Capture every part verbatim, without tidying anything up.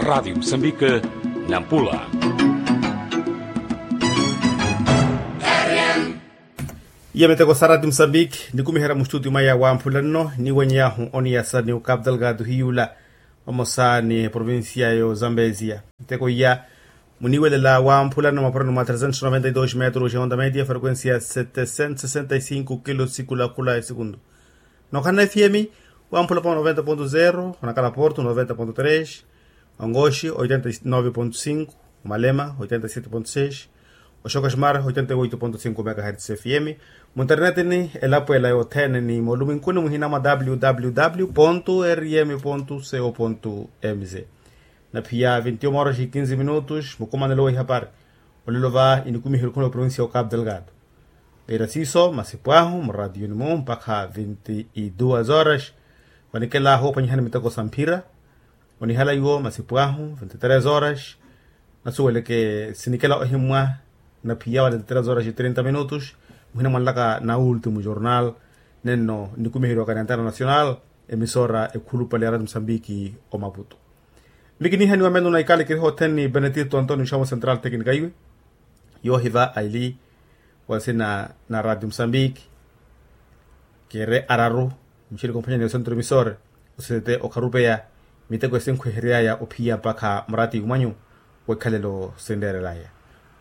Radi musambike, nampula. Iya miteko sa radi musambike nikumiherya mustutio mwaya wamphula nno niwenyahu oniyasa ni ukapu delgado hiyula, vamosa ni provincia yo zambezia. Miteko iya muniwelela wamphula nno mapurano mwa trezentos noventa y dos metros ya onda media frequencia setecentos sesenta y cinco kilo sikulakhula ya sekundu. Nokhala na fm wamphula pa noventa ponto zero, onakhala porto noventa ponto tres, ongoxi oitenta y nove ponto cinco, omalema oitenta y sete ponto seis, oxoka ximara oitenta y oito ponto cinco megahertz fm. Munternetini elapo ela yothene ni moluminkuni muhina mwa www rm co mz. Na phiya vinti uma horas e quinze minutos mukumanelo wa ihapari. Olelo va inikumiherya okhuna oprovincia ya ocapo delgado. Veira siiso masipu ahu muratiyoni mu mpakha vinti y duas horas. Vanikelahu ophwanyihani miteko sa mphira. Onihala iwo masipu ahu vinti tres horas. Nasuweleke sinikela ohimmwa na phiya wale vinti tres horas y trinta minutos. Muhina mwanlaka na ultimo jornal nenno nikumiherya wa kanentana nacional emisora ekhulupale ya rati musambiki omaputo. Mikinihaniwa meno na ikala kiriha othene ni benedito antonio xamo central tecnica iwe. Yoohiva aili wa nsina na rati musambiki. Kere araru mixirika omphwanya ni osentro emisore osisete okharupeya miteko esinkhweheryaya ophiya mpakha murati umwanyu. Wekhalelo sinreerelaya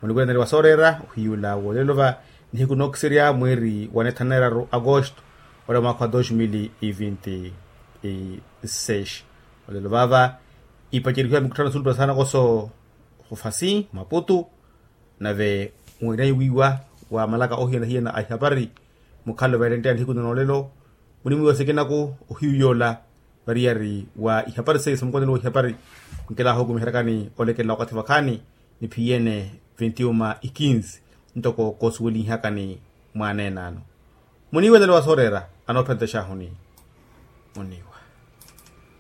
munikwentani wa sooreera ohiyula wolelo va nihiku nookisirya mwiiri wa nethanu na eraru agosto ora mwakha wa dos mil y vinti y seis. Olelo vava ipacerihiwa mikutthano sulupa sanakoso hufasi maputu. Nave mwinayi wiiwa wa malaka ohiyana-hiyana a ihapari mukhalo veerenteya nihiku na noolelo. Munimwiiwa sikinaku ohiyu yoola variyari wa ihapari seiyo sa mukwatelo wa ihapari. Nkilaha okumiheryakani olekelela wakathi vakhaani ni phiyene vinti uma ikinsi ntoko koosuwelinhiyakani mwaaneenano. Muniiwelelo wa sooreera anoophentexahuni muniiwa.